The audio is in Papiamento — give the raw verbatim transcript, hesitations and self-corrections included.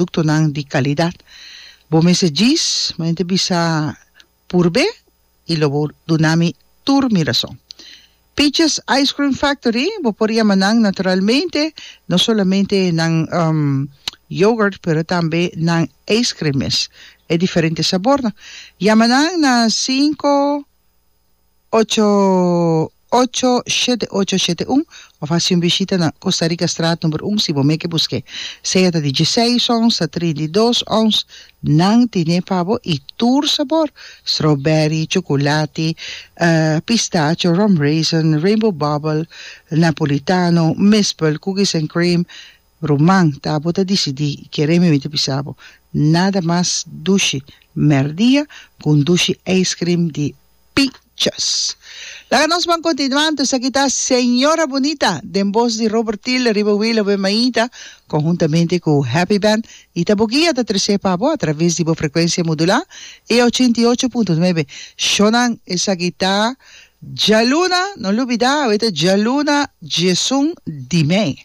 Produktonan di kalidat. Bo mester djis, mi ta bisa purb'é i lo bo duna mi tur mi rason. Peaches Ice Cream Factory, bo por yama nan naturalmente, no solamente nan yogurt pero tambe nan ice cream mes, e diferente sabornan. Yama nan na sinku ocho ocho shete ocho shete un of hasi un bishita na Costa Rica Straat number un si bo meke busk'é. Sea ta di dieseis ons ta trinta i dos ons, nan tine pa bo i tur sabor, strawberry, chocolati, pistacho, rum raisin, rainbow bubble, napolitano, mispel, cookies and cream. Ruman, ta bo ta disidí i kere mi mi ta bisa bo, nada mas dushi mèrdia ku un dushi ice cream di Pichas. Laga nos ban kontinuá anto esaki ta Señora Bunita den bos di Robert Thiel riba Wilo Be Mainta konhuntamente ku Happy Band i ta bo guia ta tresé pa bo atraves di bo frekuensia modulá e ochenta i ocho punto nuebe. Shownan esaki ta djaluna, no lubidá awe ta djaluna diesun di mei.